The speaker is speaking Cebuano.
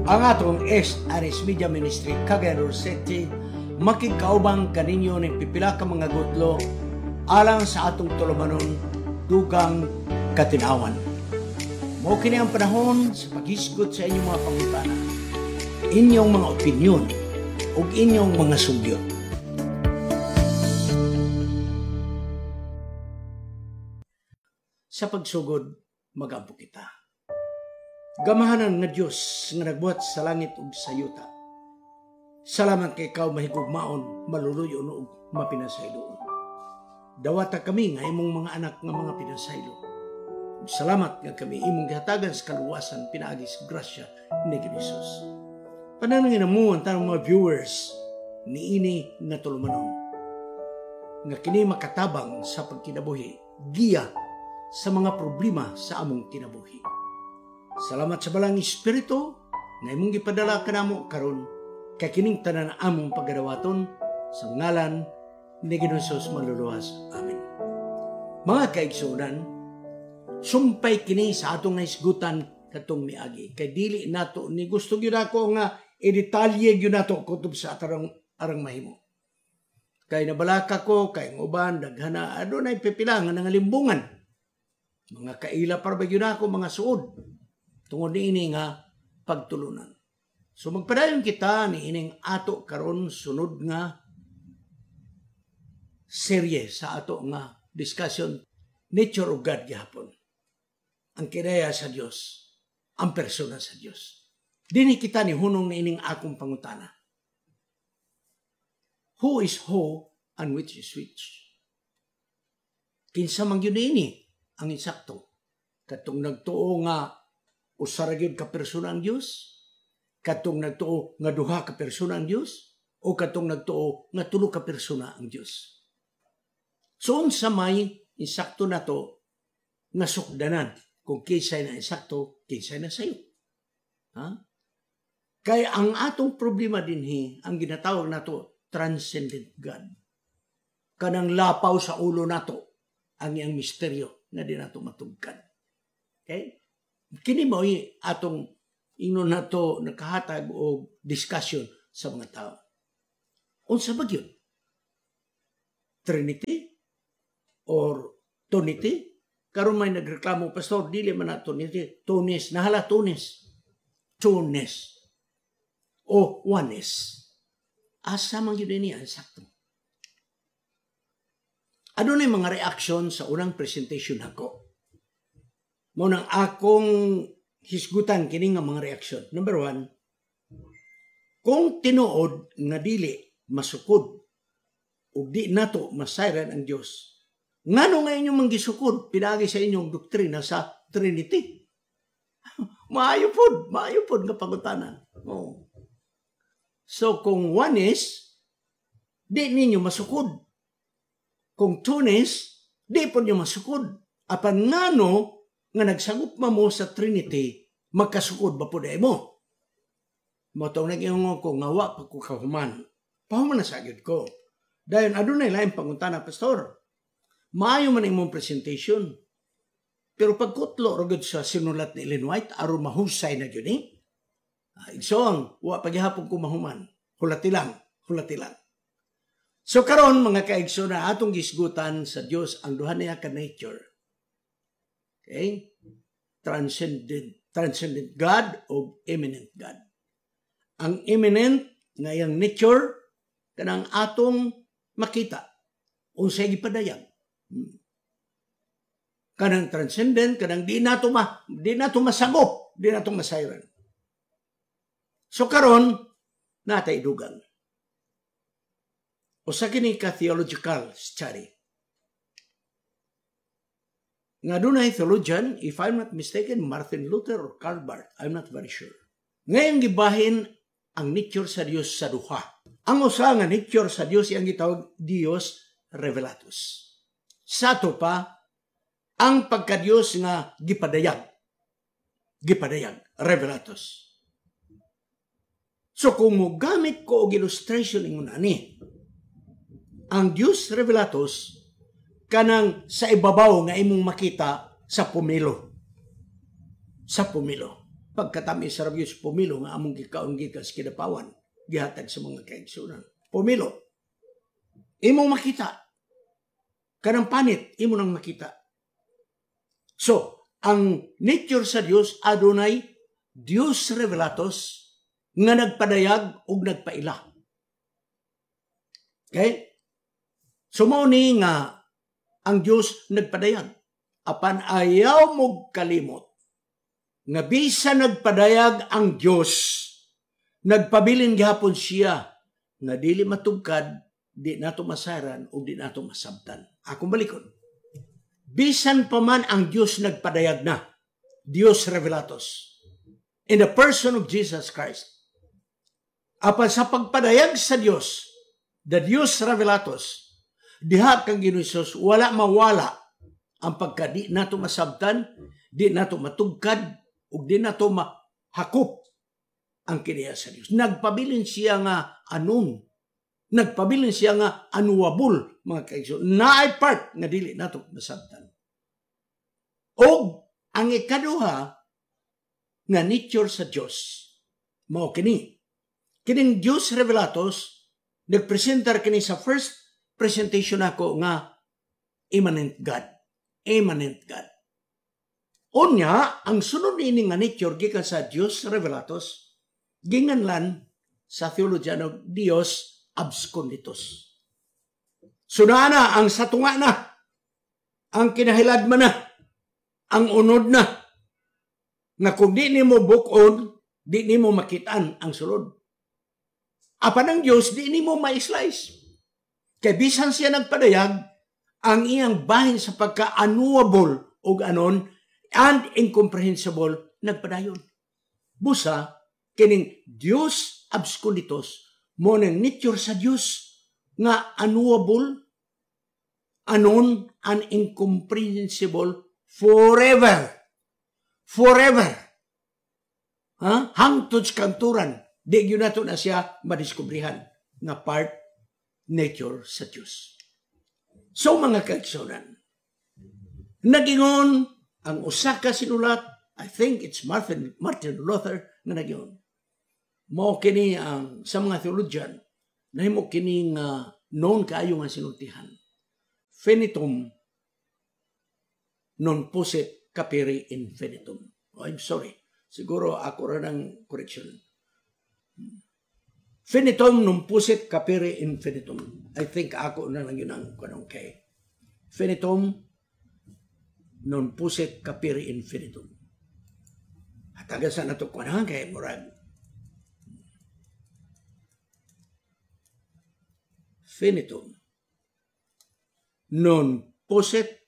Ang atong SRS Media Ministry Cagayan City makigkaubang kaninyo ning pipila ka mga gutlo alang sa atong tulumanon dugang katinawan. Mao kini ang panahon sa paghisgot sa inyong mga pangutana, inyong mga opinyon ug inyong mga sugyot. Sa pagsugod, magampo kita. Gamahanan nga Dios nga nagbuhat sa langit ug sa yuta. Salamat kay ikaw mahigugmaon, maluluyon ug mapinasayloon. Dawata kami nga imong mga anak nga mga pinasaylo. Salamat nga kami imong gihatagan sa kaluwasan pinaagi sa grasya ni Jesus. Panalangin mo ang tanang mga viewers niini nga tulumanon nga kini makatabang sa pagkinabuhi, giya sa mga problema sa among kinabuhi. Salamat sa balang Espiritu nga imong gipadala kanamo karon kay kining tanan among pagadawaton sa ngalan ni Ginoong Hesus manluluwas. Amen. Mga kaigsuonan, sumpay kini sa atong nahisgutan katong miagi. Kay dili nato ni gusto gyud ako nga i-detalye gyud nato kutob sa atarang arang mahimo. Kay nabalaka ko kay ang uban daghana adunay pipila nga nangalimbungan. Mga kaila para ba gyud ako mga suod tungod niini nga pagtulunan. So magpadayon kita ni ining ato karon sunod nga serye sa ato nga discussion, nature of God gihapon. Ang kinaya sa Dios, ang persona sa Dios. Dinhi kita ni hunong niining akong pangutana. Who is who and which is which? Kinsa man gyud niini ang insakto? Katong nagtuo nga usa ra gyud ka persona ang Dios, katong nagtuo nga duha ka persona ang Dios, o katong nagtuo nga tulo ka persona ang Dios. So unsa may insakto nato nga sukdanan kung kinsay na insakto, kinsay na sayo. Ha? Kay ang atong problema dinhi ang ginatawag nato transcendent God. Kanang lapaw sa ulo nato ang iyang misteryo nga di nato matugkad. Okay? Kini mo'y atong ingnon nato nakahatag og discussion sa mga tao. Unsa ba gyud? Trinity or Tonity? Karon may nagreklamo, pastor, dili man na Trinity, Tonis, nahala Tonis. Tonis. O oneness. Asa man gyud ini ang sakto? Adunay mga reaction sa unang presentation nako. Mao nang akong hisgutan kini nga mga reaksyon. Number one, kung tinuod nga dili masukod ug di nato masayran ang Dios, ngano nga inyong manggisukod pinaagi sa inyong doktrina sa Trinity? Maayo pod nga pangutana. Oh. So kung one is, di ninyo masukod. Kung two is, di pod nyo masukod. Apan ngano nga nagsagop mo sa Trinity, magkasukod ba po mo? Motong nag-ingon ko, nga wa pa ko kahuman. Pahuman na sa gyud ko. Dayon, adunay laing pangutana, pastor. Maayo man imong presentation. Pero pagkutlo ra gyud sa sinulat ni Ellen White, aron mahusay na gyud ni. Igsoong, wa paghihapon ko mahuman. Hulati lang, hulati lang. So karon mga kaigsoon na atong gisgutan sa Dios ang duha niya ka nature. Okay? Transcendent God o immanent God. Ang immanent nga iyang nature kanang atong makita unsay gipadayag. Kanang transcendent kanang di nato masagop, di nato masayran. So karon natay dugang. Usa kini ka theological study. Nga dunay theologian, if I'm not mistaken, Martin Luther or Karl Barth, I'm not very sure. Ngayon gibahin ang nature sa Dios sa duha. Ang usa nga nature sa Dios iyang gitawag Dios Revelatus. Sa ato pa, ang pagka-Dios nga gipadayag. Gipadayag, Revelatus. So kung mogamit ko og illustration ingon ani, ang Dios Revelatus kanang sa ibabaw nga imong makita sa pomelo. Sa pomelo. pagkatamis sa rabyos pomelo nga among gikaon gikan sa Kidapawan, gihatag sa mga kaigsunan. Pomelo. Imong makita. Kanang panit, imo nang makita. So, ang nature sa Dios adunay Dios revelatus nga nagpadayag ug nagpaila. Okay? So mao ni nga ang Dios nagpadayag. Apan ayaw mo kalimot nga bisan nagpadayag ang Dios, nagpabilin gihapon siya nga dili matugkad, di nato masaran ug di nato masabtan. Akong balikon. Bisan pa man ang Dios nagpadayag na, Dios revelatus, in the person of Jesus Christ. Apan sa pagpadayag sa Dios, the Dios revelatus, diha kang Ginoong Hesus, wala mawala ang pagka di nato masabtan, di nato matugkad, ug di nato mahakop ang kiniya sa Dios. Nagpabilin siya nga anon. Nagpabilin siya nga unknowable, mga kaigsoon. Naay part nga dili nato masabtan. Og ang ikaduha nga nature sa Dios, mao kini. Kining Dios revelatus, nagpresentar kini sa first presentation ako nga immanent God. Immanent God. Unya, ang sunod niini nga nature gikan sa Dios revelatus, ginganlan sa theologian og Dios absconditus. So na ang satunga na, ang kinahiladman na, ang unod na, nga kung di nimo bukon, di nimo makitaan ang sulod. Apan ang Diyos, di nimo ma-slice. Kay bisan siya nagpadayag, ang iyang bahin sa pagka-unknowable og anon and incomprehensible, nagpadayon. Busa, kining Dios absconditus, mo nang nature sa Dios nga unknowable, anon, and incomprehensible forever. Forever. Ha? Hangtod sa kanturan, di gyud nato na siya madiskubrihan nga part nature sa Dios. So mga kaigsunan, nagingon ang usa ka sinulat, I think it's Martin Luther nga nagingon. Mao kini ang sa mga theologian, nahimo kini nga known kaayo nga sinultihan. Finitum non possit capere infinitum. Oh, I'm sorry. Siguro ako ra ng correction. Finitum non possit capere infinitum. I think ako na lang yun ang kanong kay. Finitum non possit capere infinitum. Hatagan sa nato kuan kay murag. Finitum non possit